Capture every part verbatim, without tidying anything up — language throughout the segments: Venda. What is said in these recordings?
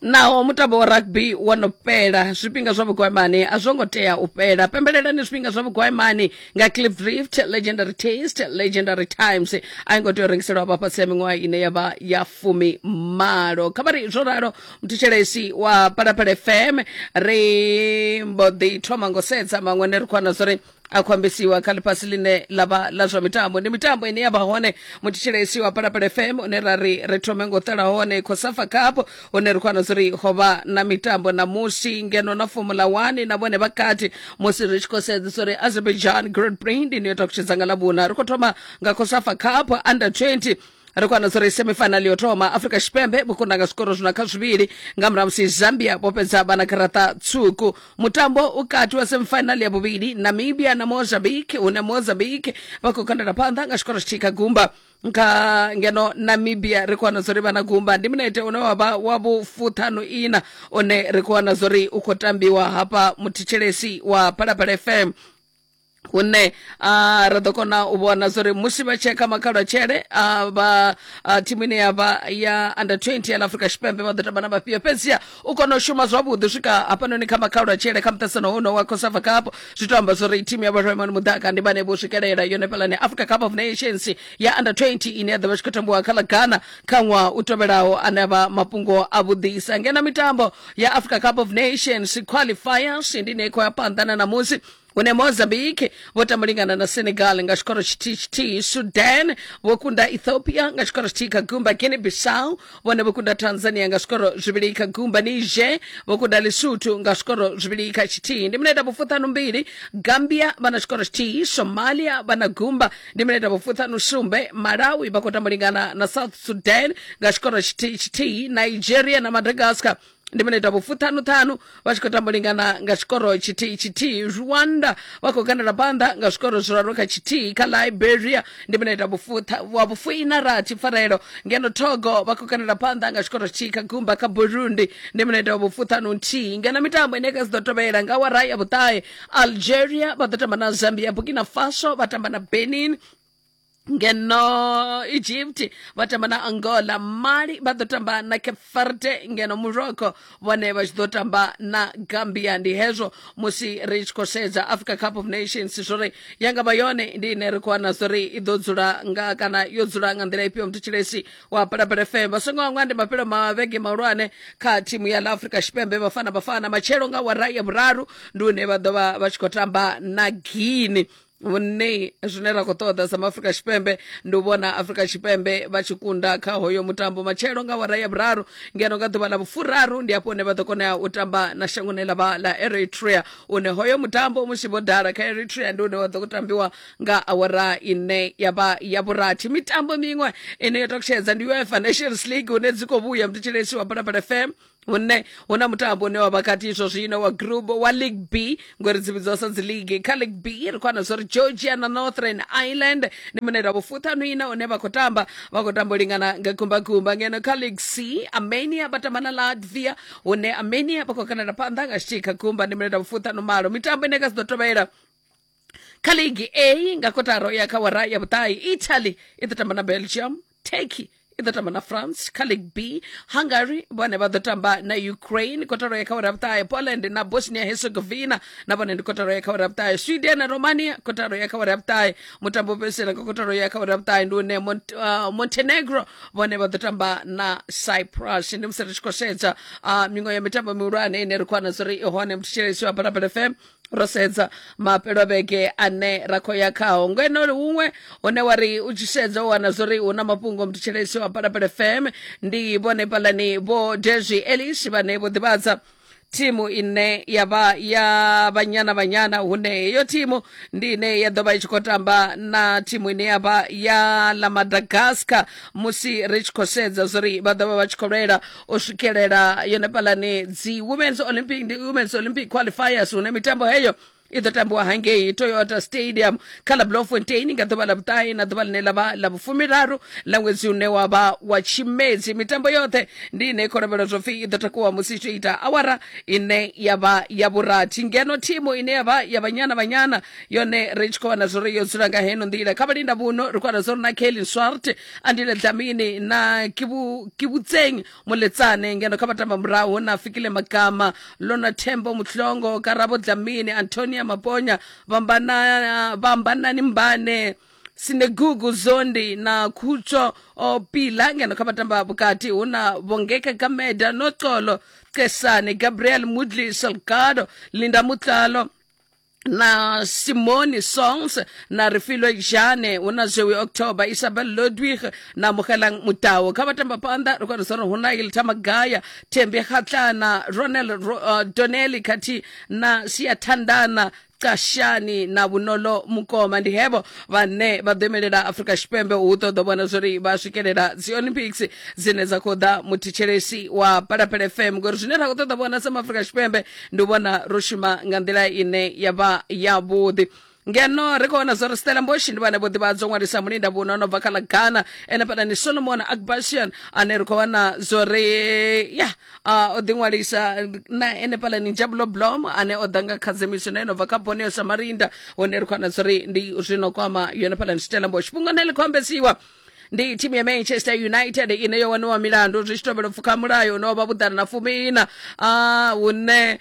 Naho mutambo wa rugby wo no fhela, zwifhinga zwa vhugwamani a zwo ngo tea u fhela. Pembelelani zwifhinga zwa vhugwamani nga Cliff Drift, Legendary Taste, Legendary Times. A i ngo tea u rengiselwa vha fhasi ya miṅwaha ine ya vha ya fumi malo. Kha vha ri zwo ralo, muthetshelesi wa Phalaphala F M, ri mbo ḓi thoma ngo sedza maṅwe ne ri khou wana zwori a khou ambesiwa kha ḽifhasi ḽine ḽa vha ḽa zwa mitambo. Ndi mitambo ine ya vha hone, muthetshelesi wa Phalaphala F M, une ra ri ri thome ngo ṱela hone COSAFA Cup, hune ri khou wana zwori ho vha na mitambo ṋamusi, ngeno na Formula one na vhone vha kati, musi ri tshi khou sedza zwori Azerbaijan Grand Prix ndi ine yo takutshedza nga Ḽavhuṋa. Ri khou thoma nga COSAFA Cup under twenty, ri khou wana zwori semifinal yo thoma, Afrika Tshipembe vho kunda nga zwikoro zwina kha zwivhili nga murahu musi Zambia vho fhedza vha na garaṱa tswuku. Mutambo u kati wa semifinal ya vhuvhili, Namibia na Mozambique, hune Mozambique vha khou kandela phanḓa nga tshikoro tshithihi kha gumba. Kha ngeno Namibia ri khou wana zwori vha na gumba. Ndi minete une wa vha wa vhufuṱhanu ina une ri khou wana zwori u khou tambiwa hafha, muthetshelesi wa Phalaphala F M, hune uh, ra ḓo kona u vhona zwori musi vha tsheka makhalo tshele uh, vha uh, thimu ine ya vha ya under twenty ya ḽa Afrika Tshipembe vha ḓo tamba na vhafhio. Fhedziha u kona u shuma zwavhuḓi u swika hafhanoni kha makhalo tshele kha muṱaṱisano hono wa COSAFA Cup, zwi to amba zwori thimu ya Vhoremani Mudaka ndi vhane vho swikelela yone fhelani Africa Cup of Nations ya under twenty ine ya ḓo vha tshi khou tambiwa kha ḽa Ghana kha ṅwaha u tevhelaho, ane a vha mafhungo a vhuḓisa. Ngeno mitambo ya Africa Cup of Nations qualifiers ndi ine i khou ya phanḓa na ṋamusi, hune Mozambique vho tamba lingana na Senegal nga tshikoro tshithihi tshithihi, Sudan vho kunda Ethiopia nga tshikoro tshithihi kha gumba, Guinea Bissau vhone vho kunda Tanzania nga zwikoro zwivhili kha gumba, Niger vho kunda Lesotho nga zwikoro zwivhili kha tshithihi. Ndi minete vhufuṱhanu mbili, Gambia vha na tshikoro tshithihi, Somalia vha na gumba. Ndi minete vhufuṱhanu sumbe, Malawi vha khou tamba lingana na South Sudan nga tshikoro tshithihi tshithihi, Nigeria na Madagascar ndi minete vhufuṱhanu ṱhanu vha tshi khou tamba lingana nga tshikoro tshithihi tshithihi, Rwanda vha khou kandela phanḓa nga zwikoro zwiraru kha tshithihi kha Liberia. Ndi minete vhufutha wa vhufuina rathi pfarelo, ngeno Togo vha khou kandela phanḓa nga tshikoro tshithihi kha gumba kha Burundi. Ndi minete vhufuṱhanu nthihi. Ngeno mitambo ine kha dzi ḓo tovhela nga awara ya vhuṱahe, Algeria vha ḓo tamba na Zambia, Burkina Faso vha tamba na Benin, ngeno Egypt vha tamba na Angola, Mali vha ḓo tamba na Cape Verde, ngeno Morocco vhone vha tshi ḓo tamba na Gambia. Ndi hezwo musi ri tshi khou sedza Africa Cup of Nations zwori ya nga vha yone ndi ine ri khou wana zwori i ḓo dzula nga kana yo dzula nga nḓila ifhio. Muthetshelesi wa Phalaphala F M, vha songo hangwa ndi mafhelo ma vhege mahulwane kha thimu ya ḽa Afrika Tshipembe Bafana Bafana. Matshelo nga awara ya vhuraru ndi hune vha ḓo vha vha tshi khou tamba na Guinea, hune zwine ra khou ṱoḓa sa Afrika Tshipembe ndi u vhona Afrika Tshipembe vha tshi kunda kha hoyo mutambo matshelo nga awara ya vhuraru. Ngeno nga ḓuvha ḽa vhufuraru ndi hafho hune vha ḓo kona u tamba na shangoni ḽa vha ḽa Eritrea, une hoyo mutambo musi vho dala kha Eritrea ndi une wa ḓo tambiwa nga awara ine ya vha ya vhurathi. Mitambo miṅwe ine yo takutshedza ndi UEFA Nations League, hune dzi khou vhuya, muthetshelesi wa Phalaphala F M, hune huna mutambo une wa vha kati izwo zwino wa group wa League B, ngori dzi vhidzwa sa dzi league. Kha League B ri khou wana zwori Georgia na Northern Ireland ndi minete wa vhufuṱhanu ina une vha khou tamba vha khou tamba u lingana nga gumbagumba. Ngeno kha League C, Armenia vha tamba na Latvia, hune Armenia vha khou kandela phanḓa nga tshithihi kha gumba. Ndi minete wa vhufuṱhanu malo. Mitambo ine kha dzi ḓo tovhela kha League A nga kotaro ya kha awara ya vhuṱahe, Italy i ḓo tamba na Belgium, Turkey i ḓo tamba na France. Kha League B, Hungary vhone vha ḓo tamba na Ukraine kotaro ya kha awara ya vhuṱahe, Poland na Bosnia Herzegovina na vhone ndi kotaro ya kha awara ya vhuṱahe, Sweden na Romania kotaro ya kha awara ya vhuṱahe. Mutambo fhedzisela nga kotaro ya kha awara ya vhuṱahe ndi une Mont uh, Montenegro vhone vha ḓo tamba na Cyprus. Ndi musi ri tshi khou sedza uh, miṅwe ya mitambo mihulwane ine ri khou wana zwori i hone, muthetshelesi wa Phalaphala F M, ro sedza mafhelo a vhege ane ra khou ya khao. Ngeno huṅwe hune wa ri u tshi sedza u wana zwori hu na mafhungo, muthetshelesi wa Phalaphala F M, ndi vhone fhalani vho Desi Ellis vhane vho ḓivhadza thimu ine ya vha ya Banyana Banyana, hune heyo thimu ndi ine ya ḓo vha i tshi khou tamba na thimu ine ya vha ya ḽa Madagascar, musi ri tshi khou sedza zwori vha ḓo vha vha tshi khou lwela u swikelela yone fhalani dzi Women's Olympic, ndi Women's Olympic qualifiers, hune mitambo heyo I ḓo tambiwa hangei Toyota Stadium kha ḽa Bloemfontein nga ḓuvha ḽa vhuṱahe na ḓuvha ḽine ḽa vha ḽa vhufumiraru ḽa ṅwedzi une wa vha wa Tshimedzi. Mitambo yoṱhe ndi ine i khou lavhelelwa zwo pfhi i ḓo takuwa musi i tshi ita awara ine ya vha ya vhurathi, ngeno thimu ine ya vha ya Banyana Banyana yone ri tshi khou wana zwori yo dzula nga heno nḓila. Kha vhalinda vhuno ri khou wana zwori na Kaylin Swart, Andile Dlamini na Kibu Kibutseng Moletsane, ngeno kha vhatamba murahu na Fikile Magama, Lona Thembo Muhlongo, Karabo Dlamini, Antonia Maponya, Vhambana Vhambanani Mbane, Sinegugu Zondi na Khutsho Pila, ngeno kha vhatamba vhukati hu na Bongeka Gameda, Noxolo Kesane, Gabriel Mudli Salgado, Linda Mutlalo na Simone Songs na Refilwe Jane, hu na Zoe October, Isabel Ludwig na Mugelang Mutao. Kha vhatamba phanḓa ri khou wana hu na Ilta Magaya, Thembi Khatlana, Ronel uh, Donnelly khathihi na Siyathandana Kashani na Vhunolo Mukoma. Ndi hevho vhane vha ḓo imelela Afrika Tshipembe hu ṱoḓa vhona zwori vha swikelela dzi Olympics dzine dza khou ḓa. Muthetshelesi wa Phalaphala F M, ngori zwine ra khou ṱoḓa vhona sa Afrika Tshipembe ndi u vhona ro shuma nga nḓila ine ya vha yavhuḓi. Ngeno ri khou wana zwori Stellenbosch ndi vhane vho ḓivhadzwa ṅwalisa mulinda vhuno no bva kha ḽa Ghana, ene fhaḽa ni Solomon Akbashian ane ri khou wana zwori ya o ḓiṅwalisa na ene fhaḽa ni Njabulo Blom ane o ḓa nga khadzimiso na eno bva kha Borneo Samarinda, hune ri khou wana zwori ndi zwino kwama yone fhaḽa ni Stellenbosch. Fhungo ṋe ḽi khou ambesiwa ndi thimu ya Manchester United ine yo waniwa milandu zwi tshi tovhela pfukha mulayo une wa vha vhuḓana na fumiina, hune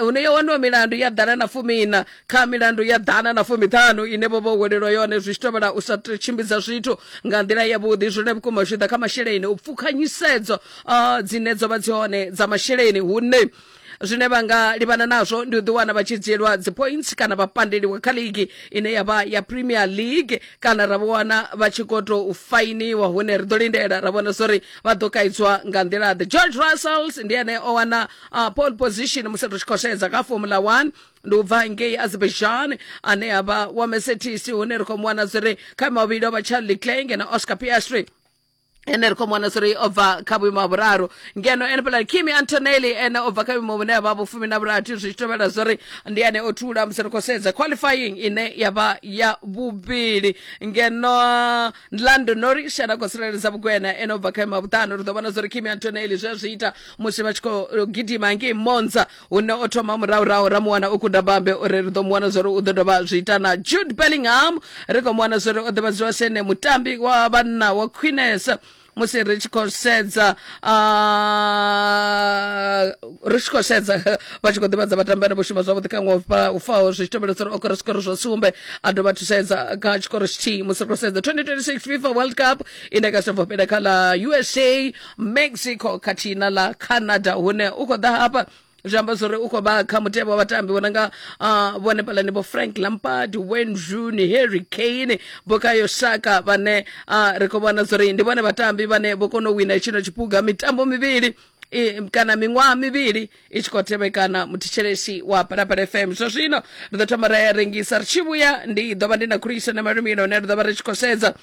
hune yo waniwa milandu ya ḓana na fumiina kha milandu ya ḓana na fumiṱhanu ine vho vho welelwa yone zwi tshi tovhela u sa tshimbidza zwithu nga nḓila yavhuḓi. Zwine vhukuma zwi ḓa kha masheleni, u pfukha nyisedzo dzine dzo vha dzi hone dza masheleni, hune zwine vha nga livhana nazwo ndi u ḓiwana vha tshi dzhielwa dzi points kana vha pandeliwa kha ligi ine ya vha ya Premier League, kana ra vho wana vha tshi khou tou fainiwa, hune ri ḓo lindela ra vhona zwori vha ḓo kaidzwa nga nḓila ḓe. George Russell ndi ene o wana uh, pole position musi ri tshi khou sedza kha Formula one, ndi u bva ngei Azerbaijan ane a vha wa Mercedes, hune ri khou mu wana zwori kha mavhili o vha Charles Leclerc na Oscar Piastri, ene ri khou mu wana zwori o bva kha vhuimo ha vhuraru. Ngeno ene fhaḽa Kimi Antonelli ene o bva kha vhuimo vhune ha vha vhufumi na vhurathi, zwi tshi tovhela zwori ndi ene o thula musi ri khou sedza qualifying ine ya vha ya vhuvhili. Ngeno Lando Norris ane a khou tsireledza vhugwena ene o bva kha vhuimo ha vhuṱanu. Ri ḓo vhona zwori Kimi Antonelli zwe zwi ita musi vha tshi khou gidima ngei Monza, hune o thoma murahurahu ra mu wana o kunda bambe, uri ri ḓo mu wana zwori u ḓo dovha zwi ita. Na Jude Bellingham ri khou mu wana zwori o ḓivhadziwa sa ene mutambi wa vhanna wa khwinesa musi ri tshi khou sedza ri tshi khou sedza vha tshi khou ḓivhadza vhatambi vhane vho shuma zwavhuḓi kha ṅwaha u faho, zwi tshi tovhela uri o kora zwikoro zwa sumbe a dovha thusedza kha tshikoro tshithihi. Musi ri khou sedza twenty twenty-six FIFA World Cup ine ka sobva fhela kha ḽa U S A, Mexico khathihi na ḽa Canada, hune u khou ḓa hafha zwi amba zwori u khou vha kha mutevhe wa vhatambi vho nanga vhone fhaḽani vho Frank Lampard, Wayne Rooney, Harry Kane, Bukayo Saka vhane ri khou vhona zwori ndi vhone vhatambi vhane vho kona u wina tshino tshiphuga mitambo mivhili kana miṅwaha mivhili i tshi khou tevhekana. Muthetshelesi wa Phalaphala F M, zwa zwino ri ḓo thoma ra ya rengisa, ri tshi vhuya ndi ḓo vha ndi na Khuliso na Malumino hune ri ḓo vha ri tshi khou sedza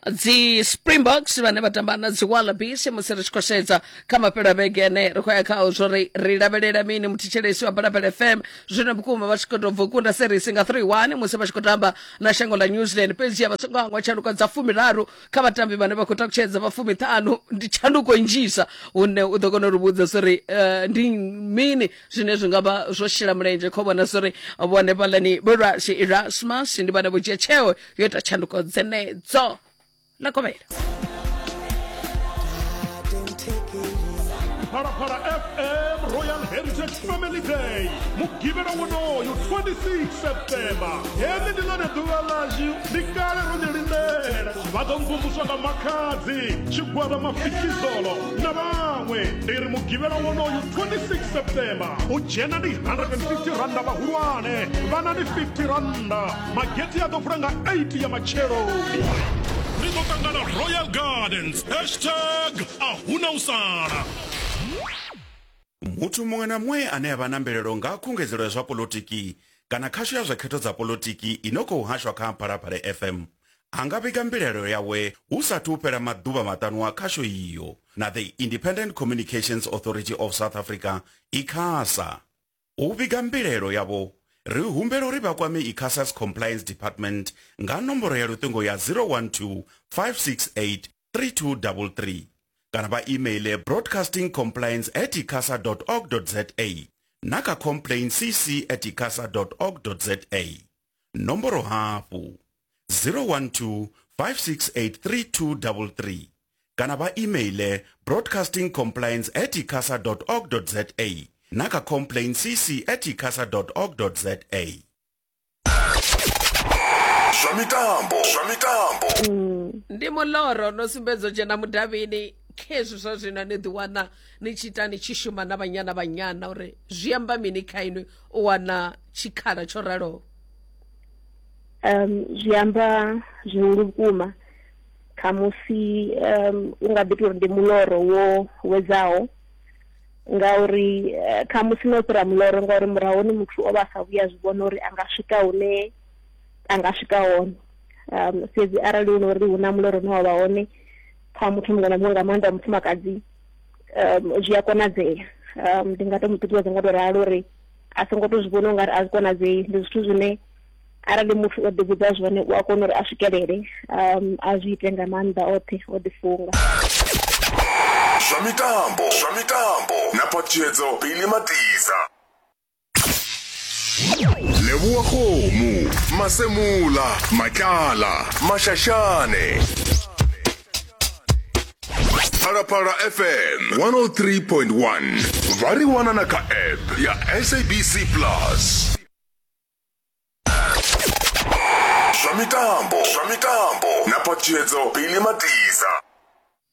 dzi Springboks vhane vha tamba na dzi Wallabies musi ri tshi khou sedza kha mafhelo a vhege ane ri khou ya khao zwori ri lavhelela mini. Muthetshelesi wa Phalaphala F M, zwino vhukuma vha tshi khou tou bva u kunda series nga three one musi vha tshi khou tamba na shango ḽa New Zealand, fhedzi vha songo hangwa tshanduko dza fumiraru kha vhatambi vhane vha khou takutshedza vha fumiṱhanu, ndi tshanduko nnzhisa hune u ḓo kona u ri vhudza zwori ndi mini zwine zwi nga vha zwo shela mulenzhe kho vhona zwori vhone fhaḽani vho Rassie Erasmus ndi vhane vho dzhia tsheo yo ita tshanduko dzenedzo. La Comela. Phalaphala F M Royal Heritage Family Day mugivhela wonoyu twenty-six September. Heḽi ndi ḽone ḓuvha ḽashu, ndi kale ro ḽi lindela. Vha ḓo mvumvuswa nga Makhadzi, Tshigwada Mafikizolo na vhaṅwe. Ndi ri mugivhela wonoyu twenty-six September u dzhena ndi one hundred fifty randa vhahulwane, vhana ndi fifty randa. Mageti a ḓo vula nga eight ya matsheloni. Ri ḓo ṱangana Royal Gardens, hashtag a huna u sala. Muthu muṅwe na muṅwe ane a vha na mbilaelo nga khungedzelo ya zwa polotiki kana khasho ya zwa khetho dza polotiki ino khou hashwa kha Phalaphala F M a nga vhiga mbilaelo yawe hu sathu fhela maḓuvha maṱanu a khasho iyo na the Independent Communications Authority of South Africa ICASA. U vhiga mbilaelo yavho Ri humbela uri vha kwame ICASA's Compliance Department nga nomboro ya luṱingo ya zero one two, five six eight, three two three three kana vha emaile broadcasting compliance at icasa dot org dot za na kha complaint c c at icasa dot org dot za. Nomboro hafhu zero one two, five six eight, three two three three kana vha emaile broadcasting compliance at icasa dot org dot za na kha complaint c c at icasa dot org dot za. Zwa mitambo, zwa mitambo. Ndi muloro no sumbedzo dzhena mudavhini khezwi zwa zwino ni ḓi wana ni tshi ita ni tshi shuma na Banyana Banyana uri zwi amba mini kha inwi u wana tshikhala tsho raloho? Um zwi amba zwihulu vhukuma khamusi um u nga ḓi tori ndi muloro wo wedzaho ngauri khamusi no fhira muloro ngauri murahuni muthu o vha sa vhuya zwi vhona uri anga swika hune anga swika hone. Um fhedzi arali hu uri hu na muloro une wa vha hone kha muthu muṅwe na muṅwe nga maanḓa mufumakadzi um zwi a konadzea. Um ndi nga to mu ṱuṱuwedza nga to ralo uri a songo to zwi vhona ungari a zwi konadzei, ndi zwithu zwine arali muthu o ḓivhudza zwone u a kona uri a swikelele um a zwi ite nga maanḓa oṱhe o ḓifunga. Zwa mitambo, zwa mitambo na Phatshedzo Billy Matiza. Leboa Kgomo, Masemula, Matlala, Mashashane. Phalaphala F M one oh three point one. Va ri wana na ka app ya S A B C Plus. Zwa mitambo, zwa mitambo na Phatshedzo Billy Matiza.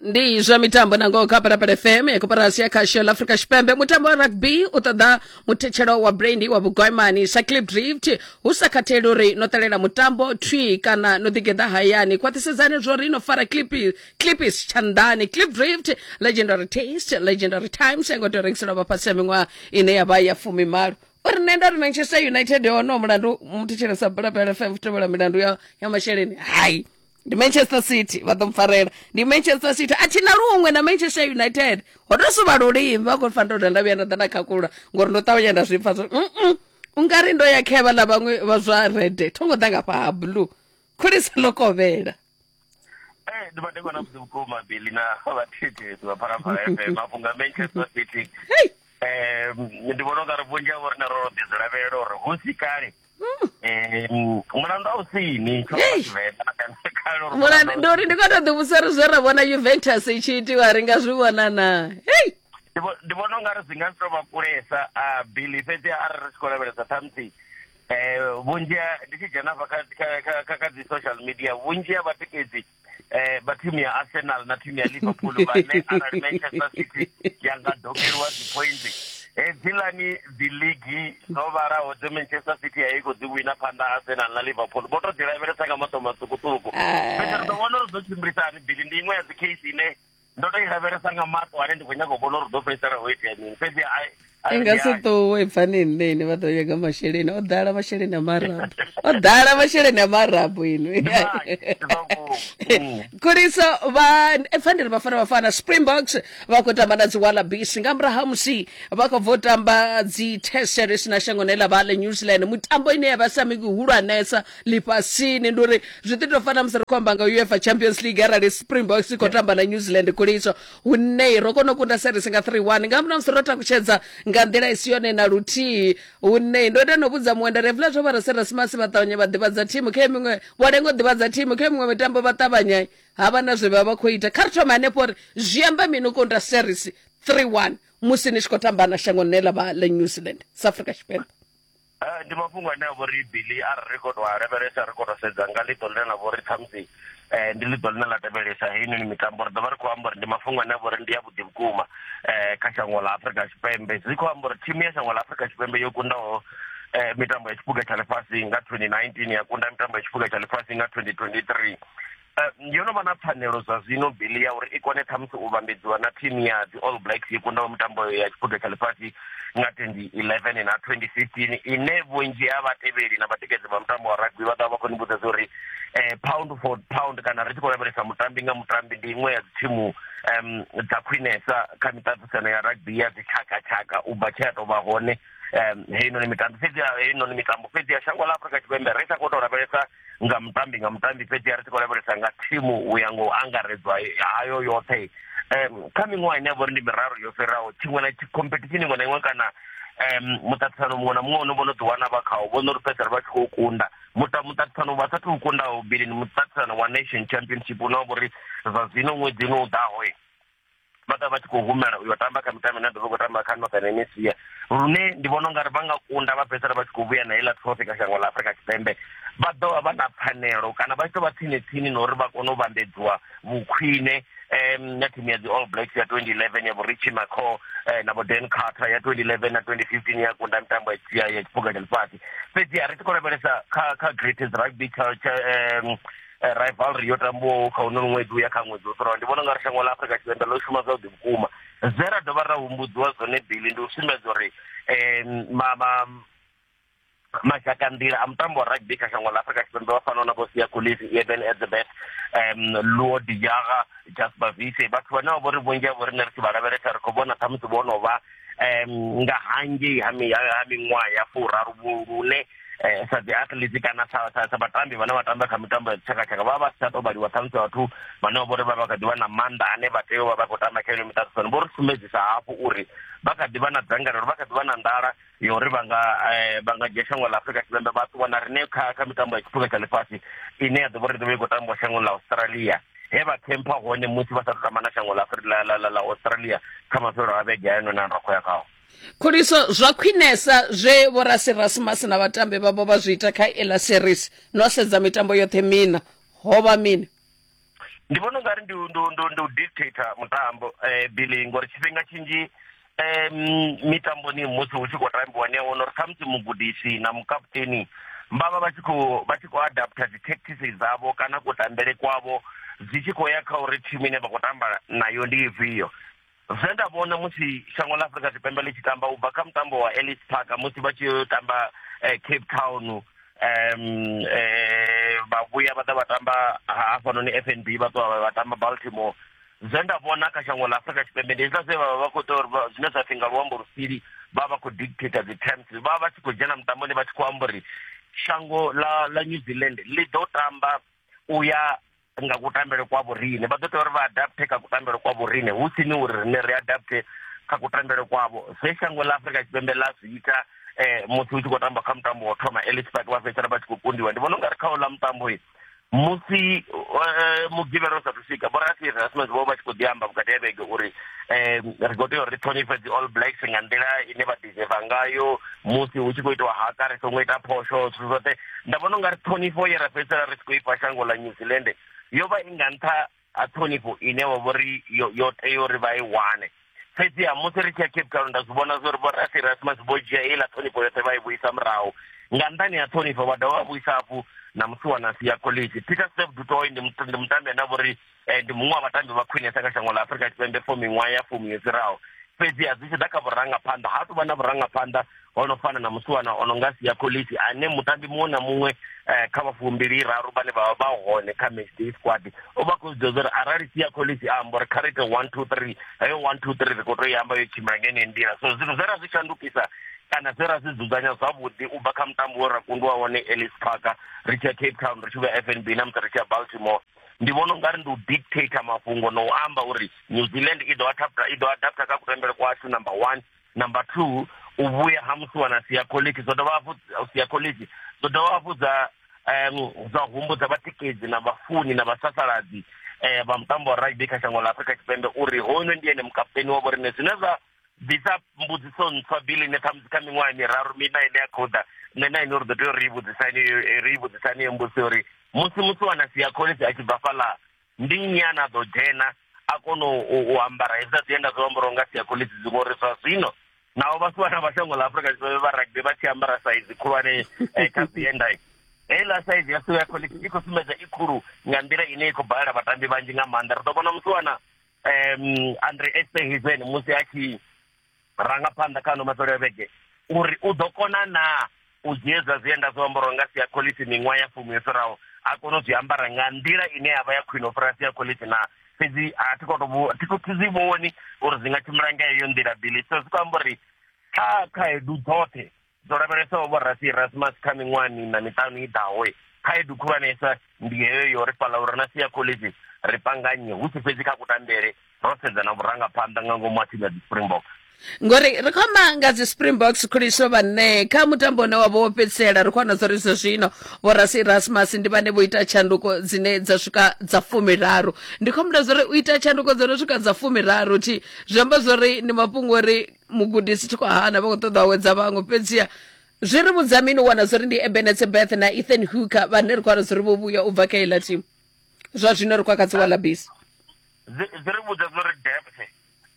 Ndi zwa mitambo na ngoho kha Phalaphala F M ya koporasi ya khasho la Afrika Tshipembe. Mutambo wa rugby u ṱoḓa muthetshelo wa brandy wa vhugwaimani sa Klipdrift hu sa khatheli uri no ṱalela mutambo thwi kana no ḓigeḓa hayani. Khwaṱhisedzani zwo ri no fara clip clipis tshanḓani. Klipdrift, legendary taste, legendary times. Ngo to rengiselwa vhafhasi ha miṅwaha ine ya vha ya fumimalo. Uri nṋe nda ri Manchester United hono mulandu muthetshelo sa Phalaphala F M tevhela milandu ya ya masheleni. Hai, ndi Manchester City vha ḓo mpfarela, ndi Manchester City a thina luṅwe na Manchester United ho to suvha lulimi vha khou fanela uri nda vhuya nda ḓa nda khakhulula ngori ndo ṱavhanya nda zwi pfa zwo mm ungari ndo ya khevha ḽa vhaṅwe vha zwa red tho ngo ḓa nga fha ha blue khulisa ḽo kovhela. Eh ndi madekwana vhuḓi vhukuma Billy na vhathetshelesi vha Phalaphala F M mafhungo a Manchester City. Eh ndi vhona ungari vhunzhi havho rine ro ḓi zwi lavhelela uri hu si kale mulandu a u sini mulandu ndi uri ndi khou tou ḓivhudzisa uri zwe ra vhona Juventus i tshi itiwa ri nga zwi vhona na. Hei ndi vhona ungari zwi nga si tou vha kulesa a Billy, fhedzi arali ri tshi khou lavhelesa ṱhamusi vhunzhi ndi tshi dzhena hafha kha kha dzi social media vhunzhi ha vhatikedzi eh vha thimu ya Arsenal na thimu ya Liverpool vhane arali Manchester City ya nga dokeliwa dzi points hedzilani dzi league dzo vhalaho dze Manchester City ya i khou dzi wina phanḓa Arsenal na Liverpool vho to dzi lavhelesa nga maṱo maṱukuṱuku. Fhedzi ri ḓo vhona uri ḓo tshimbilisa hani Billy, ndi iṅwe ya dzi case ine ndo to i lavhelesa nga maṱo ane ndi khou nyaga u vhona uri ḓo fhedzisela ho itea mini. Fhedzi i nga si ṱuwe pfani nṋeni vha ḓo nyaga masheleni o ḓala masheleni a marabu o ḓala masheleni a marabu inwi. Khuliso vha pfa ndi ri Bafana Bafana Springboks vha khou tamba na dzi Wallabies nga murahu ha musi vha khou bva u tamba dzi test series na shangoni ḽa vha ḽa New Zealand, mutambo ine ya vha sa mihulwanesa ḽifhasini. Ndi uri zwi ḓi tou fana musi ri khou amba nga UEFA Champions League arali Springboks i khou tamba na New Zealand. Khuliso hune ro kona u kunda series nga three one nga murahu ha musi ro takutshedza nga nḓila i si yone na luthihi, hune ndo ita no vhudza muṅwe nda ri hezwiḽa zwo vha Rasmasi vha ṱavhanya vha ḓivhadza thimu khe miṅwe vho lenga u ḓivhadza thimu khe miṅwe mitambo vha ṱavhanya ha vha na zwe vha vha khou ita. Kha ri thome hanefho uri zwi amba mini u kunda series three one musi ni tshi khou tamba na shango ḽine ḽa vha ḽa New Zealand South Africa Tshipembe. Ndi mafhungo ane a vha uri Billy arali ri khou tou a lavhelesa ri khou tou sedza nga ḽiṱo ḽine ḽa vha uri ṱhamusi eh ndi ḽiṱo ḽine ḽa tevhelesa heinoni mitambo, ri ḓo vha ri khou amba uri ndi mafhungo ane a vha uri ndi avhuḓi vhukuma eh kha shango ḽa Afrika Tshipembe. Zwi khou amba uri thimu ya shango ḽa Afrika Tshipembe yo kundaho eh mitambo ya tshiphuga tsha ḽifhasi nga twenty nineteen ya kunda mitambo ya tshiphuga tsha ḽifhasi nga twenty twenty-three. Yo no vha na pfanelo zwa zwino Billy ya uri i kone ṱhamusi u vhambedziwa na thimu ya dzi All Blacks yo kundaho mitambo ya tshiphuga tsha ḽifhasi nga twenty eleven na twenty fifteen, ine vhunzhi ha vhatevheli na vhatikedzi vha mutambo wa rugby vha ḓo vha vha khou ni vhudza uri eh pound for pound kana ri tshi khou lavhelesa mutambi nga mutambi ndi iṅwe ya dzi thimu um dza khwinesa kha miṱaṱisano ya rugby ya dzi tshakatshaka u bva tshe ya tou vha hone um heinoni mitambo fhedzi heinoni mitambo fhedzi ya shango ḽa Afrika Tshipembe ri sa khou tou lavhelesa nga mutambi nga mutambi fhedzi ri tshi khou lavhelesa nga thimu u ya nga u angaredzwa hayo yoṱhe. Um kha miṅwaha ine ya vha uri ndi miraru yo fhiraho tshiṅwe na competition iṅwe na iṅwe kana um muṱaṱisano muṅwe na muṅwe une vho no ḓi wana vha khawo vho no ri fhedzisela vha tshi khou kunda. Muṱaṱisano vha sathu u kundaho bili ndi muṱaṱisano wa Nation Championship une wa vha uri zwa zwino ṅwedzi une u ḓaho vha ḓa vha tshi khou humela uyo tamba kha mitambo ine ya ḓo vha khou tamba kha Northern Hemisphere, lune ndi vhona ungari vha nga kunda vha fhedzisela vha tshi khou vhuya na heiḽa trophy kha shango ḽa Afrika Tshipembe vha ḓo vha vha na pfanelo kana vha tshi tou vha tsini tsini na uri vha kone u vhambedziwa vhukhwine um na thimu ya dzi All Blacks ya twenty eleven ya vho Richie McCaw eh, na vho Dan Carter ya twenty eleven na twenty fifteen ya kunda mitambo ya ya tshiphuga tsha ḽifhasi. Fhedzi a ri tshi khou lavhelesa kha kha greatest rugby um rivalry yo tambiwaho kha uno ṅwedzi uya kha ṅwedzi wo fhiraho, ndi vhona ungari shango ḽa Afrika Tshipembe ḽo shuma zwavhuḓi vhukuma. Zwe ra dovha ra humbudziwa zwone bili ndi u sumbedza uri um ma, ma mazhakanḓila a mutambo wa rugby kha shango ḽa Afrika Tshipembe vha fanaho na vho Siya Kolisi, Eben Etzebeth, um Luo de Jager, Jasper Wiese, vhathu vhane vha vho ri vhunzhi havho riṋe ri tshi vha lavhelesa ri khou vhona ṱhamusi vho no vha um nga hangei ha miṅwaha ya furaru lune eh sa dzi athletes kana sa sa vhatambi vhane vha tamba kha mitambo ya tshakatshaka vha vha si tsha tou vhaliwa ṱhamusi vhathu vhane vha vhori vha vha kha ḓi vha na maanḓa ane vha tea u vha vha khou tamba kha ino miṱaṱisano. Vho ri sumbedzisa hafhu uri vha kha ḓi vha na dzangalelo, vha kha ḓi vha na nḓala ya uri vha nga vha nga dzhia shango ḽa Afrika Tshipembe vha ṱuwa na riṋe kha kha mitambo ya tshiphuga tsha ḽifhasi ine ya ḓo vha uri ḓo vha i khou tambiwa shangoni ḽa Australia, he vha khempha hone musi vha sa thu tamba na shango ḽa ḽa ḽa Australia kha mafhelo a vhege hayo na ra khou ya khao. Khuliso, zwa khwinesa zwe vho Rassie Erasmus na vhatambi vhavho vha zwi ita kha iḽa series no sedza mitambo yoṱhe mina ho vha mini? Ndi vhona ungari ndi ndi ndi ndi u dictator mutambo eh Billy, ngori tshifhinga tshinzhi um mitamboni musi hu tshi khou tambiwa ni a wana uri khamusi mugudisi na mukaputeni vha vha vha tshi khou vha tshi khou adapter dzi tactics dzavho kana kutambele kwavho zwi tshi khou ya kha uri thimu ine vha khou tamba nayo ndi ifhio. Zwe nda vhona musi shango ḽa Afrika Tshipembe ḽi tshi tamba u bva kha mutambo wa Ellis Park musi vha tshi tamba eh, Cape Town um eh, vha vhuya vha ḓa vha tamba hafhanoni F N B vha ṱuwa vha tamba Baltimore. Zwe nda vhona kha shango ḽa Afrika Tshipembe ndi hezwiḽa zwe vha vha vha khou ita uri zwine zwa pfhi nga luambo lusili vha vha khou dictator dzi terms, vha vha tshi khou dzhena mutamboni vha tshi khou amba uri shango ḽa ḽa New Zealand ḽi ḓo tamba u ya nga kutambele kwa vhorine, vha ḓo tea uri vha adapte kha kutambele kwa vhorine hu sini uri rine ri adapte kha kutambele kwavho. Zwe shango ḽa Afrika Tshipembe ḽa zwi ita eh musi hu tshi khou tamba kha mutambo wa thoma Ellis Park vha fhedzisela vha tshi khou kundiwa. Ndi vhona ungari kha uḽa mutambo musi mugivhela u sathu swika vho Rassie Erasmus vho vha tshi khou ḓi amba vhukati ha vhege uri um ri khou tea uri ri ṱhonifhe dzi All Blacks nga nḓila ine vha deserve ngayo musi hu tshi khou itiwa haka ri songo ita phosho zwithu zwoṱhe. Nda vhona ungari ṱhonifho ye ra fhedzisela ri tshi khou ifha shango ḽa New Zealand yo vha i nga nṱha ha ṱhonifho ine wa vhori yo yo tea uri vha i wane. Fhedziha musi ri tshi ya Cape Town nda zwi vhona zwa uri vho Rassie Erasmus vho dzhia heiḽa ṱhonifho yoṱhe vha i vhuisa murahu. Nga nṱhani ha ṱhonifho vha dovha vha vhuisa hafhu na musiwana Siya Kolisi. Peter Steph du Toit ndi mutambi ane a vha uri ndi muṅwe wa vhatambi vha khwinesa kha shango ḽa Afrika Tshipembe for miṅwaha ya fumi yo fhiraho. Fhedziha zwi tshi ḓa kha vhurangaphanḓa ha tou vha na vhurangaphanḓa ho no fana na musiwana o no nga Siya Kolisi ane mutambi muṅwe na muṅwe kha vha fumbili raru vhane vha vha hone kha match day squad o vha khou zwi ḓivha uri arali Siya Kolisi a amba uri kha ri ite one two three, heyo one two three ri khou tou i amba yo tshimbila nga yeneyo nḓila. So zwithu zwe ra zwi shandukisa kana zwe ra zwi dzudzanya zwavhuḓi u bva kha mutambo we ra kundiwa wone Ellis Park ri tshi ya Cape Town ri tshi vhuya F N B na musi ri tshi ya Baltimore, ndi vhona ungari ndi u dictator mafhungo na u amba uri New Zealand i ḓo adapta i ḓo adapta kha kutambele kwashu number one. Number two, u vhuya ha musiwana Siya Kolisi zwo dovha hafhu Siya Kolisi zwo dovha hafhu dza um zwa humbudza vhatikedzi na vhafuni na vhasasaladzi eh vha mutambo wa rugby kha shango ḽa Afrika Tshipembe uri hono ndi ene mukaputeni wa vhorine. Zwine zwa bvisa mbudziso ntswa bili ine ṱhamusi kha miṅwaha miraru mina ine ya khou ḓa nṋe na ine uri ḓo tea uri ri vhudzisani ri vhudzisani mbudziso uri musi musiwana Siya Kolisi a tshi bva fhaḽa ndi nnyi ane a ḓo dzhena a kona u ambara hezwiḽa zwienda zwo ambariwaho nga Siya Kolisi ngori zwa zwino naho vhasiwana vha shango ḽa Afrika Tshipembe vha rugby vha tshi ambara saizi khulwane kha zwienda heiḽa saizi ya Siya Kolisi i khou sumbedza i khulu nga nḓila ine i khou balela vhatambi vhanzhi nga maanḓa. Ri ḓo vhona musiwana um Andre Esterhuizen musi a tshi rangaphanḓa kha ano mafhelo a vhege uri u ḓo kona na u dzhia zwa zwienda zwo ambariwaho nga Siya Kolisi miṅwaha ya fumi yo fhiraho a kona u zwi ambara nga nḓila ine ya vha ya khwine u fhira Siya Kolisi na. Fhedzi a thi khou tou thi zwi vhoni uri zwi nga tshimbila nga heyo nḓila bili. So zwi khou amba uri Kha khaedu dzoṱhe dzo lavhelesaho vho Rassie Erasmus kha miṅwaha miṋa miṱanu i ḓaho, khaedu khulwanesa ndi heyo yo ri fhaḽa uri na Siya Kolisi ri panganye hu si fhedzi kha kutambele, ro sedza na vhurangaphanḓa nga ngomu ha thimu ya dzi Springboks. Ngori ri khou amba nga dzi Springboks khuliso vhane kha mutambo une wa vha wo fhedzisela, ri khou wana zwa uri zwa zwino vho Rassie Erasmus ndi vhane vho ita tshanduko dzine dza swika dza fumiraru. Ndi khou humbula zwa uri u ita tshanduko dzo no swika dza fumiraru thi zwi amba zwa uri ndi mafhungo uri mugudisi thi khou hana vha khou ṱoḓa u awedza vhaṅwe, fhedziha zwi ri vhudza mini u wana zwa uri ndi Eben Etzebeth na Ethan Hooker vhane ri khou wana zwa uri vho vhuya u bva kha heiḽa thimu zwa zwino ri khou kha dzi Wallabies. Zwi ri vhudza zwa uri depth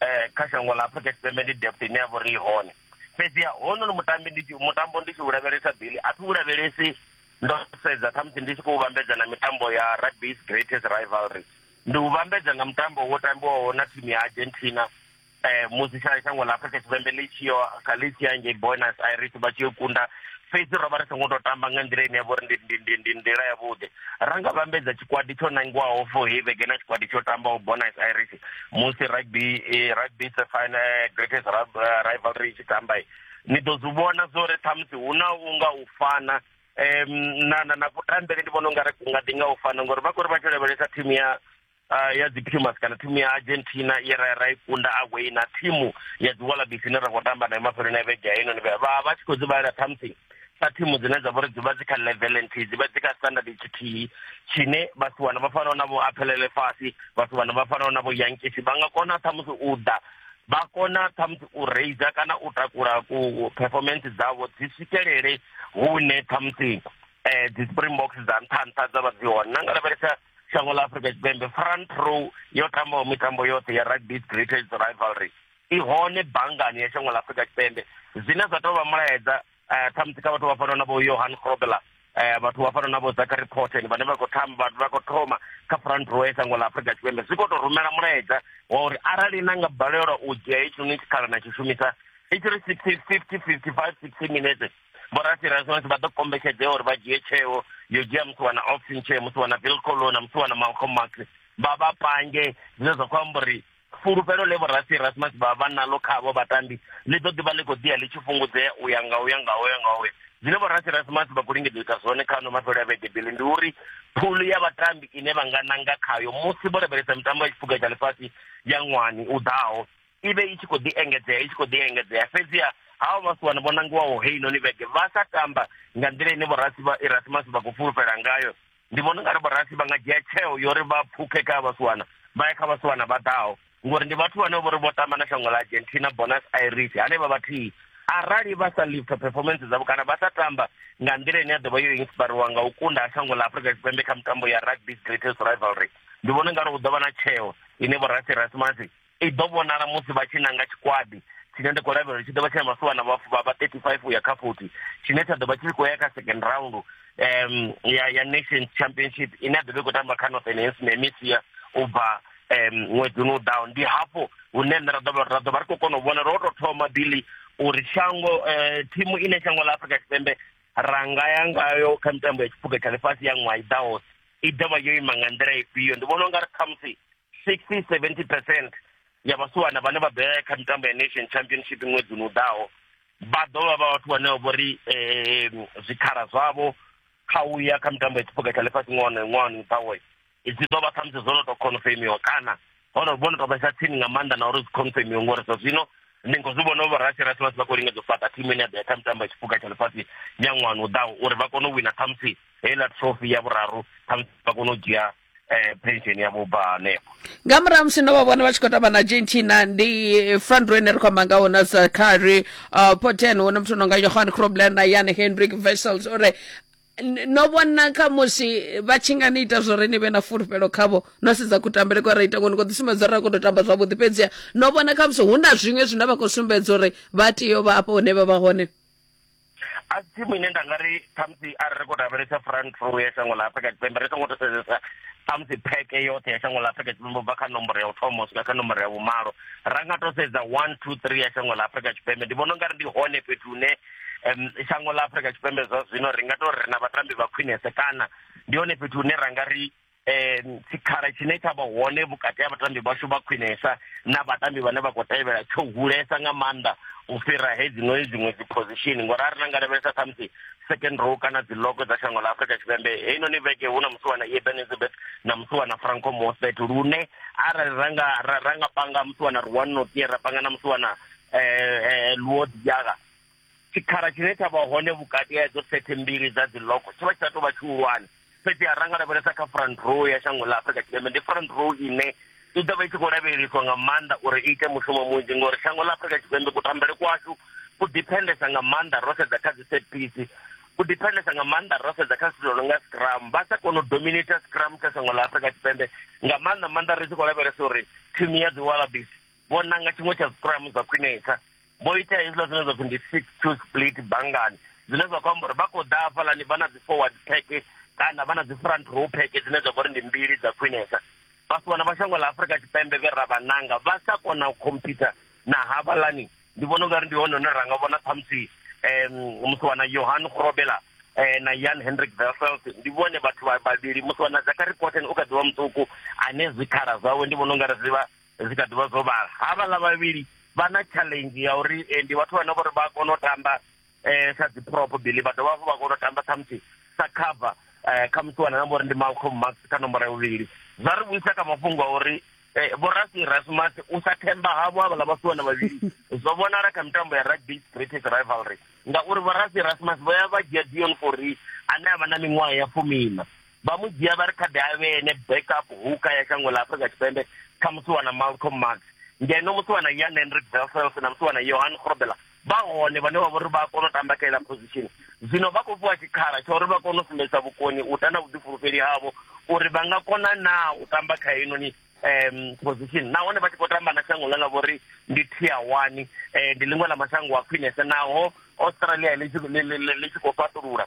eh kha shango ḽa Afrika Tshipembe ndi depth ine ya vha uri i hone. Fhedziha hononi mutambi ndi mutambo ndi tshi u lavhelesa Billy, a thi u lavhelesi ndo sedza khamusi ndi tshi khou vhambedza na mitambo ya rugby's greatest rivalry, ndi u vhambedza nga mutambo wo tambiwaho na thimu ya Argentina eh musi shango ḽa Afrika Tshipembe ḽi tshi yo ḽi tshi ya ngei Buenos Aires vha tshi yo kunda. Fhedzi ro vha ri songo tou tamba nga nḓila ine ya vha uri ndi ndi ndi nḓila yavhuḓi. Ra nga vhambedza tshikwadi tsho nangiwaho for heyi vhege na tshikwadi tsho tambaho Buenos Aires musi rugby rugby final greatest rivalry i tshi tamba, ni ḓo zwi vhona zwo uri ṱhamusi hu na unga u fana um na na na kutambele, ndi vhona ungari ku nga ḓi nga u fana ngori vha khou ri vha tshi lavhelesa thimu ya Uh, ya dzi Pumas kana thimu ya Argentina ye ra ra i kunda away na thimu ya dzi Wallabies ine ra khou tamba nayo mafheloni a vhege ya ino, vha vha tshi khou dzi vhalela ṱhamusi sa thimu dzine dza vha uri dzi vha dzi kha level nthihi, dzi vha dzi kha standard tshithihi tshine vhasiwana vha fanaho na vho Aphelele Fassi, vhasiwana vha fanaho na vho Yankees vha nga kona ṱhamusi u ḓa vha kona ṱhamusi u raiser kana u takula ku performance dzavho dzi swikelele hune ṱhamusi eh dzi Springboks dza nṱha nṱha dza vha dzi hone. Na nga lavhelesa shango ḽa Afrika Tshipembe, front row yo tambaho mitambo yoṱhe ya rugby's greatest rivalry i hone banngani ya shango ḽa Afrika Tshipembe, zwine zwa tou vha mulaedza ṱhamusi kha vhathu vha fanaho na vho Johan Grobbelaar, vhathu vha fanaho na vho Zachary Porten vhane vha khou tamba vha khou thoma kha front row ya shango ḽa Afrika Tshipembe. Zwi khou tou rumela mulaedza wa uri arali na nga balelwa u dzhia hetshinoni tshikhala na tshi shumisa i tshi ri sixty, fifty, fifty-five, sixty minutes, vho Rassie Erasmus vha ḓo kombetshedzea uri vha dzhie tsheo yo dzhia musiwana Ox Nché, musiwana Wilco Louw, musiwana Malcolm Marx, vha vha pange, zwine zwa khou amba uri fulufhelo ḽe vho Rassie Erasmus vha vha nalo khavho vhatambi ḽi ḓo ḓivha ḽi khou ḓiya ḽi tshi fhungudzea u ya nga u ya nga u ya nga u ya. Zwine vho Rassie Erasmus vha khou lingedza u ita zwone kha ano mafhelo a vhege Billy ndi uri phulu ya vhatambi ine vha nga nanga khayo musi vho lavhelesa mitambo ya tshiphuga tsha ḽifhasi ya ṅwani u ḓaho i vhe i tshi khou ḓi engedzea i tshi khou ḓi engedzea. Fhedziha havho vhasiwana vho nangiwaho heinoni vhege vha sa tamba nga nḓila ine vho Rassie Erasmus vha khou fulufhela ngayo, ndi vhona ungari vho Rassie vha nga dzhia tsheo yo uri vha pfhukhe kha vhasiwana vha ye kha vhasiwana vha ḓaho, ngori ndi vhathu vhane vho ri vho tamba na shango ḽa Argentina, Buenos Aires hanevha vhathihi. Arali vha sa lifta performance dzavho kana vha sa tamba nga nḓila ine ya ḓo vha yo inspiriwa nga u kunda ha shango ḽa Afrika Tshipembe kha mitambo ya rugby's greatest rivalry, ndi vhona ungari hu ḓo vha na tsheo ine vho Rassie Erasmus i ḓo vhonala musi vha tshi nanga tshikwadi tshine ndi khou lavhelela tshi ḓo vha tshi na masiwana vha vha thirty-five uya kha forty, tshine tsha ḓo vha tshi khou ya kha second round um ya ya Nations Championship ine ya ḓo vha i khou tamba kha Northern Hemisphere u bva um ṅwedzi u ḓaho. Ndi hafho hune nṋe ra ḓo ra ḓo vha ri khou kona u vhona ro tou thoma Billy uri shango thimu ine shango ḽa Afrika Tshipembe ra nga ya ngayo kha mitambo ya tshiphuga tsha ḽifhasi ya ṅwaha i ḓaho i ḓo vha yo ima nga nḓila ifhio. Ndi vhona ungari khamusi sixty seventy percent ya vhasiwana vhane vha ḓo ya kha mitambo ya Nation Championship ṅwedzi u ḓaho vha ḓo vha vha vhathu vhane vho ri zwikhala zwavho kha u ya kha mitambo ya tshiphuga tsha ḽifhasi ṅwaha na ṅwaha u ḓaho dzi ḓo vha khamusi zwo no tou confirmiwa kana hono vho no tou vhesa tsini nga maanḓa na uri zwi confirmiwe, ngori zwa zwino ndi khou zwi vhona vho Rassie Erasmus vha khou lingedza u fhaṱa thimu ine ya ḓo ya kha mitambo ya tshiphuga tsha ḽifhasi ya ṅwaha u ḓaho uri vha kone u wina khamusi heiḽa trophy ya vhuraru, khamusi vha kone u dzhia eh pension ya vho bva hanefho. Nga murahu musi no vha vhona vha tshi khou tamba na Argentina, ndi front row ine ri khou amba ngaho na Zachary uh, Porten, hu na muthu no nga Johan Grobler na Jan Hendrik Wessels, uri no vhona kha musi vha tshi nga ni ita zwo ri ni vhe na fulufhelo khavho no sedza kutambele kwa ra ita ngoni khou ḓi sumbedza uri ra khou tou tamba zwavhuḓi, fhedziha no vhona kha musi hu na zwiṅwe zwine vha khou sumbedza uri vha tea u vha afho hune vha vha hone. A si thimu ine nda nga ri khamusi arali ri khou lavhelesa front row ya shango ḽa Afrika Tshipembe ri songo tou sedzesa khamusi pheke yoṱhe ya shango ḽa Afrika Tshipembe ubva kha nomboro ya u thoma u swika kha nomboro ya vhumalo, ra nga tou sedza one two three ya shango ḽa Afrika Tshipembe, ndi vhona ungari ndi hone fhethu hune um shango ḽa Afrika Tshipembe zwa zwino ri nga tou ri na vhatambi vha khwinese, kana ndi hone fhethu hune ra nga ri um tshikhala tshine tsha vha hone vhukati ha vhatambi vhashu vha khwinesa na vhatambi vhane vha khou tevhela tsho hulesa nga maanḓa u fhira hedzinoni dziṅwe dzi position. Ngori a ri na nga lavhelesa ṱhamusi second row kana dzi logo dza shango ḽa Afrika Tshipembe, heinoni vhege hu na musiwana Eben Etzebeth na musiwana Franco Mostert, lune arali ra nga ra nga panga musiwana Ruan Notier ra panga na musiwana eh Luo Diaga, tshikhala tshine tsha vha hone vhukati ha hedzo sethe mbili dza dzi logo tshi vha tshi sa tou vha tshihulwane. Fhedzi a ranga lavhelesa kha front row ya shango ḽa Afrika Tshipembe, ndi front row ine i ḓo vha i tshi khou lavheleswa nga maanḓa uri i ite mushumo munzhi, ngori shango ḽa Afrika Tshipembe kutambele kwashu ku dependesa nga maanḓa ro sedza kha dzi set piece, ku dependesa nga maanḓa ro sedza kha zwithu zwo no nga scrum. Vha sa kona u dominate scrum kha shango ḽa Afrika Tshipembe nga maanḓa maanḓa ri tshi khou lavhelesa uri thimu ya dzi Wallabies vho nanga tshiṅwe tsha scrum zwa khwinesa, vho ita hezwiḽa zwine zwa pfhi ndi six two split bangani, zwine zwa khou amba uri vha khou ḓa hafhaḽani vha na dzi forward pack kana vha na dzi front row pack dzine dza vha uri ndi mbili dza khwinesa. Vhasiwana vha shango ḽa Afrika Tshipembe vhe ra vha nanga vha sa kona u compete na havhalani, ndi vhona ungari ndi hone hune ra nga vhona ṱhamusi um musiwana Johan Grobbelaar eh, na Jan Hendrik Wessels, ndi vhone vhathu vha vhavhili. Musiwana Zachary Cotton u kha ḓivha muṱuku ane zwikhala zwawe ndi vhona ungari zwi vha zwi kha ḓivha zwo vhala. Havhaḽa vhavhili vha na challenge ya uri eh, ndi vhathu vhane vhori vha kona u tamba eh, sa dzi prop bili, vha dovha hafhu vha kona u tamba ṱhamusi sa cover eh, kha musiwana na vhori ndi Malcolm Marx kha nomboro ya vhuvhili. Zwa ri vhuisa kha mafhungo a uri eh, Vho Rassie Erasmus u sa themba havho havhaḽa vhasiwana vhavhili zwo vhonala kha mitambo ya rugby greatest rivalry, ngauri Vho Rassie Erasmus vho ya vha dzhia Dion Fourie ane a vha na miṅwaha ya fumina, vha mu dzhia vha ri kha ḓi a vhe ene backup hooker ya shango ḽa Afrika Tshipembe kha musiwana Malcolm Marx, ngeno musiwana Jan Hendrik Wessels na musiwana Johan Grobbelaar vha hone vhane vha vhori vha kona u tamba kha iḽa position. Zwino vha khou fhiwa tshikhala tsha uri vha kone u sumbedzisa vhukoni u ta na vhuḓifulufheli havho uri vha nga kona na u tamba kha heinoni um position, nahone vha tshi khou tamba na shango ḽe ḽa vhori ndi tier one, eh, ndi ḽiṅwe ḽa mashango a khwinesa naho Australia ḽi tshi khou fhaṱulula.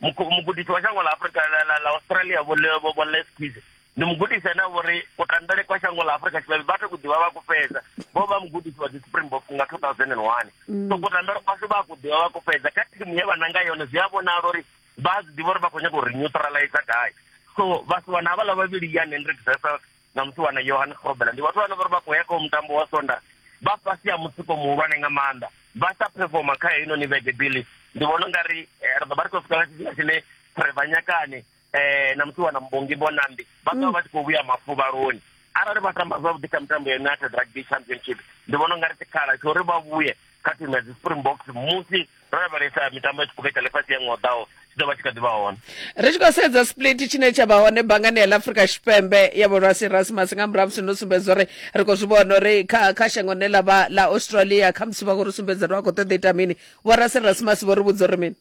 Mugudisi wa shango ḽa Afrika ḽa Australia Vho Vho Les Kiss ndi mugudisi ane a vhori kutambele kwa shango ḽa Afrika Tshipembe vha tou ḓivha vha ku fhedza, vho vha mugudisi wa dzi Springboks nga two thousand and one. So kutambele kwashu vha ku ḓivha vha ku fhedza kha thimu ye vha nanga yone, zwi a vhonala uri vha zwi ḓivha uri vha khou nyaga uri neutralize gai. So vhasiwana havhaḽa vhavhili Jan Hendrik Wessels na musiwana Johan Grobbelaar ndi vhathu vhane vhori vha khou ya kha mutambo wa Sonda vha fhasi ha mutsiko muhulwane nga maanḓa, vha sa performa kha heinoni vhege bili. Ndi vhona ungari ri ḓo vha ri khou swika nga tshifhinga tshine Trevor Nyakane eh na musiwana Mbongi Mbonambi vha ḓo vha tshi khou vhuya mafuvhaloni. Arali vha tamba zwavhuḓi kha mitambo ya United Rugby Championship, ndi vhona ungari tshikhala tsha uri vha vhuye kha thimu ya dzi Springboks musi ro lavhelesa mitambo ya tshiphuga tsha ḽifhasi ya ṅwaha u ḓaho tshi ḓo vha tshi kha ḓi vha hone. Ri tshi khou sedza split tshine tsha vha hone bangani ya ḽa Afrika Tshipembe ya Vho Rassie Erasmus, nga murahu musi ndo sumbedza uri ri khou zwi vhona uri kha kha shango ḽine ḽa vha ḽa Australia khamusi vha khou ri sumbedza uri vha khou ṱoḓa ita mini. Vho Rassie Erasmus vho ri vhudza uri mini?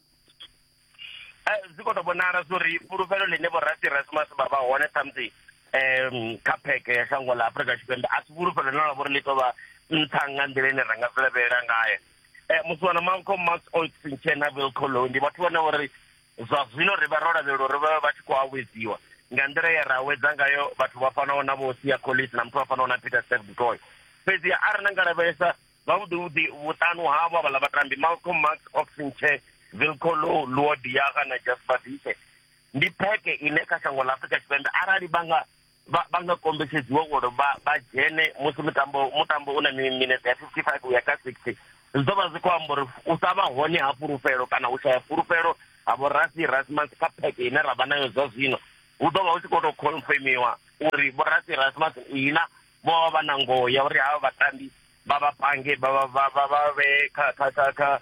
Zwi khou tou vhonala uri fhulufhelo ḽine Vho Rassie Erasmus vha vha hone ṱhamusi um kha pheke ya shango ḽa Afrika Tshipembe a si fhulufhelo ḽine ḽa vha uri ḽi tou vha nṱha nga nḓila ine ra nga zwi lavhelela ngayo. Musiwana Malcolm Marx, Ox Nché na Wilco Louw ndi vhathu vhane uri zwa zwino ri vha ro lavhelela uri vha vha tshi khou awedziwa nga nḓila ye ra awedza ngayo vhathu vha fanaho na Vho Siya Kolisi na muthu vha fanaho na Peter Steph du Toit. Fhedzi arali na nga lavhelesa zwavhuḓi vhuḓi vhuṱanu havho havhaḽa vhatambi Malcolm Marx, Ox Nché, Wilco Louw, Luo Diaga na Jasper Wiese ndi pheke ine kha shango ḽa Afrika Tshipembe arali vha nga vha nga kombetshedziwa uri vha vha dzhene musi mutambo mutambo u na minete ya fifty five uya kha sixty, zwi ḓo vha zwi khou amba uri u sa vha hone ha fhulufhelo kana u shaya fhulufhelo ha Vho Rassie Erasmus kha pheke ine ra vha nayo zwa zwino hu ḓo vha hu tshi khou tou confirmiwa uri Vho Rassie Erasmus ina vho vha vha na ngoho ya uri havha vhatambi vha vha pange vha vha vha vha vhe kha kha kha kha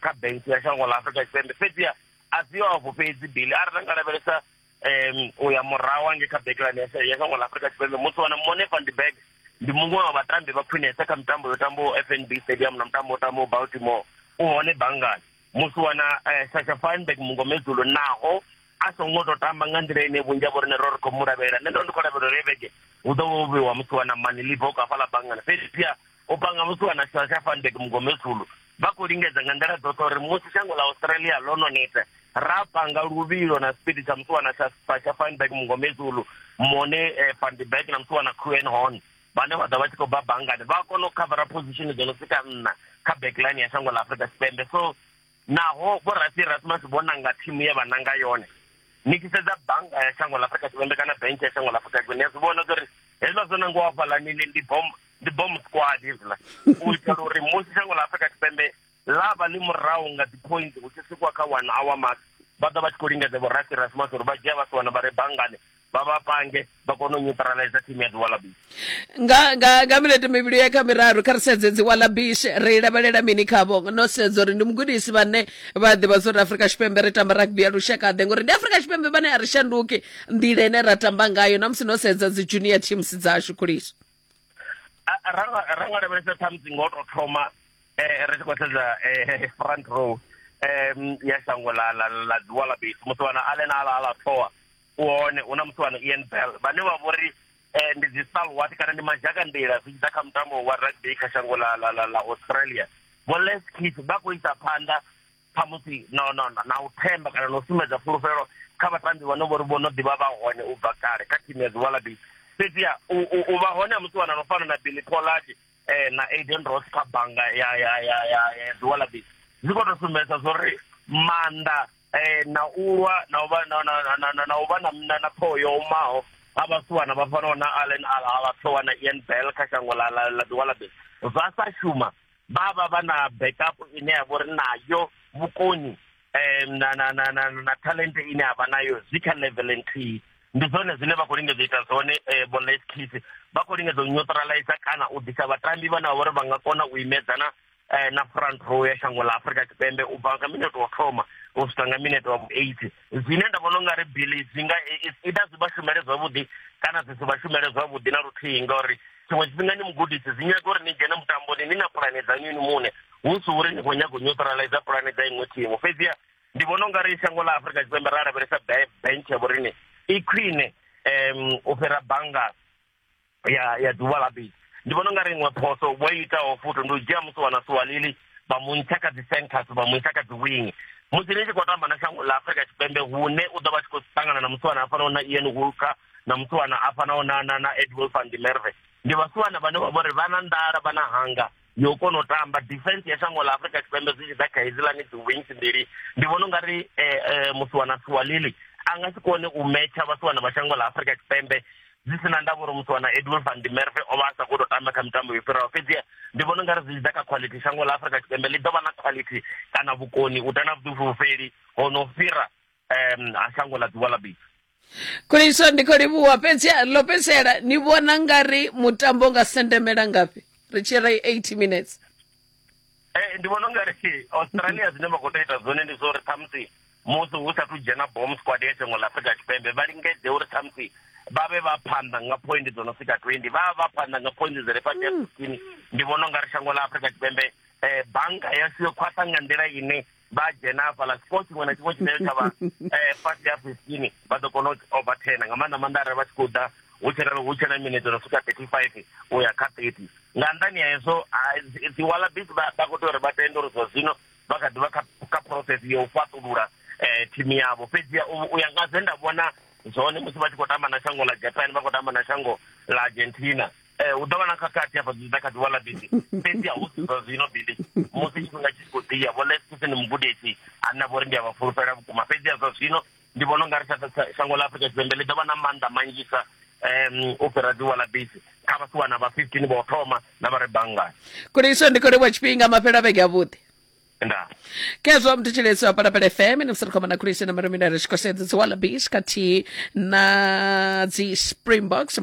kha bench ya shango ḽa Afrika Tshipembe. Fhedziha a si yo afho fhedzi bili, arali ra nga lavhelesa um u ya murahu hange kha backline ya shango ḽa Afrika Tshipembe, musiwana Mone van der Berg ndi muṅwe wa vhatambi vha khwinesa kha mitambo yo tambaho F N B Stadium na mutambo wo tambaho Baltimore, u hone bangani. Musiwana Sacha Feinberg Mngomezulu naho a songo tou tamba nga nḓila ine vhunzhi ha vho riṋe ro ri khou mu lavhelela, nṋe ndo ndi khou lavhelela uri vhege hu ḓo vha ho vheiwa musiwana Mani Libbok hafhaḽa bangani, fhedziha u panga musiwana Sacha Feinberg Mngomezulu vha khou lingedza nga nḓila dzoṱhe uri musi shango ḽa Australia ḽo no neta ra panga luvhilo na speed tsha musiwana Sacha Feinberg Mngomezulu, Mone van der Berg na musiwana Kuen Horn vhane vha ḓo vha tshi khou bva bangani vha kona u khavara position dzo no swika nṋa kha backline ya shango ḽa Afrika Tshipembe. So naho Vho Rassie Erasmus vho nanga thimu ye vha nanga yone, Ni tshi sedza bannga ya shango ḽa Afrika Tshipembe kana bench ya shango ḽa Afrika Tshipembe, ni a zwi vhona uri hezwiḽa zwo nangiwa hafhaḽa ni ndi bomb ndi bomb squad hezwiḽa, u itela uri musi shango ḽa Afrika Tshipembe ḽa vha ḽi murahu nga dzi points hu tshi swikwa kha one hour mark, vha ḓo vha tshi khou lingedza vho Rassie Erasmus uri vha dzhia vhasiwana vha re banngani vha vha pange vha kone u neutralize team ya dzi Wallabies. Nga nga nga minete mivhili ya kha miraru, kha ri sedze dzi Wallabies, ri lavhelela mini khavho? No sedza uri ndi mugudisi vhane vha ḓivha zwa uri Afrika Tshipembe ri tamba rugby ya lushaka-ḓe, ngori ndi Afrika Tshipembe vhane a ri shanduki nḓila ine ra tamba ngayo na musi no sedza dzi junior teams dzashu khuliso. Ra nga ra nga lavhelesa ṱhamusi ngo to thoma eh ri tshi khou sedza eh front row um ya shango la la la dzi Wallabies, musiwana Allan Alaalatoa u hone, hu na musiwana Ian Bell vhane vha vhori eh ndi dzi stalwart kana ndi mazhakanḓila zwi tshi ḓa kha mutambo wa rugby kha shango la la la, la Australia. Vho Les Kiss vha khou isa phanḓa khamusi no no na u themba kana na u sumbedza fulufhelo kha vhatambi vhane vhori vho no ḓivha vha hone u bva kale kha thimu ya dzi Wallabies. Fhedziha u vha hone ha musiwana no fana na Billy Pollard eh na Aiden Ross kha bannga ya ya ya ya ya dzi Wallabies zwi khou tou sumbedza zwori maanḓa eh na ulwa na u vha na na na na u vha na na ṱhoho yo omaho ha vhasiwana vha fanaho na Allan Alaalatoa na Ian Bell kha shango la la la dzi Wallabies zwa sa shuma, vha vha vha na backup ine ya vha uri nayo vhukoni eh na na na na na talent ine ya vha nayo zwi kha level nthihi. Ndi zwone zwine vha khou lingedza u ita zwone eh, vho Les Kiss vha khou lingedza u neutralize kana u ḓisa vhatambi vhane vha uri vha nga kona u imedzana eh, na front row ya shango ḽa Afrika Tshipembe u bva nga minete wa thoma u swika nga minete wa eighty. Zwine nda vhona ungari Billy zwi nga ida zwi vha shumele zwavhuḓi kana zwi si vha shumele zwavhuḓi na luthihi, ngauri tshiṅwe tshifhinga ni mugudisi zwi nyaga uri ni dzhene mutamboni ni na pulane dzaṋu inwi muṋe, hu si uri ni khou nyaga u neutralize pulane dza iṅwe thimu. Fhedziha ndi vhona ungari shango ḽa Afrika Tshipembe ra lavhelesa bench ya vhorine i khwine um u fhira bannga ya ya dzi Wallabies. Ndi vhona ungari iṅwe phoso vho itaho futhi ndi u dzhia musiwana Suwalili vha mu ntsha kha dzi centers vha mu isa kha dzi wing. Musi ni tshi khou tamba na shango ḽa Afrika Tshipembe hune u ḓo vha tshi khou ṱangana na musiwana a fanaho na Ian Walker na musiwana a fanaho na na na Edwill van der Merwe, ndi vhasiwana vhane vha vhori vha na nḓala vha na hanga yo kona u tamba. Defense ya shango ḽa Afrika Tshipembe zwi tshi ḓa kha hedziḽani dzi wings mbili, ndi vhona ungari eh, eh, musiwana Suwalili a nga si kone u metsha vhasiwana vha shango ḽa Afrika Tshipembe zwi sina ndavha uri musiwana Edwill van der Merwe o vha a sa khou tou tamba kha mitambo yo fhiraho. Fhedziha ndi vhona ungari zwi tshi ḓa kha quality shango ḽa Afrika Tshipembe ḽi ḓo vha na quality kana vhukoni u ta na vhuḓifulufheli ho no fhira um ha shango ḽa dzi Wallabies. Khuliso, ndi khou livhuwa. Fhedzi ḽo fhedzisela, ni vhona ngari mutambo nga sendemela ngafhi ri tshi ri eighty minutes? Eh ndi vhona ungari Australia zwine vha khou tou ita zwone ndi zwa uri ṱhamusi musi hu sathu dzhena bomb squad ya shango ḽa Afrika Tshipembe vha lingedze uri ṱhamusi vha vhe vha phanḓa nga point dzo no swika twenty, vha vha phanḓa nga point dzi re fhasi ha fifteen. Ndi vhona ungari shango ḽa Afrika Tshipembe eh bannga yashu yo khwaṱha nga nḓila ine vha dzhena hafhaḽa score tshiṅwe na tshiṅwe tshine tsha vha eh fhasi ha fifteen vha ḓo kona u overturn nga maanḓa maanḓa arali vha tshi khou ḓa hu tshena hu tshena minete no swika thirty five u ya kha thirty. Nga nnḓani ha hezwo dzi Wallabies vha vha khou tea uri vha tende uri zwa zwino vha kha ḓivha kha kha process ya u fhaṱulula eh thimu yavho. Fhedziha u ya nga zwe nda vhona zwone musi vha tshi khou tamba na shango ḽa Japan vha khou tamba na shango ḽa Argentina, eh hu ḓo vha na khakhathi hafha zwi tshi ḓa kha dzi Wallabies. Fhedziha hu si zwa zwino Billy, musi tshifhinga tshi khou ḓiya vho Les Kiss ndi mugudisi ane vho ri ndi a vha fulufhela vhukuma. Fhedziha zwa zwino ndi vhona ungari shango ḽa Afrika Tshipembe ḽi ḓo vha na maanḓa manzhisa um u fhira dzi Wallabies kha vhasiwana vha fifteen vha u thoma na vha re banngani. Khuliso, ndi khou livhuwa tshifhinga, mafhelo a vhege avhuḓi. Nda Kezwo mthetshelesi wa Phalaphala F M, ni musi ri khou na Khuliso na Marumina ri tshi khou sedza dzi Wallabies khathihi na dzi Springboks.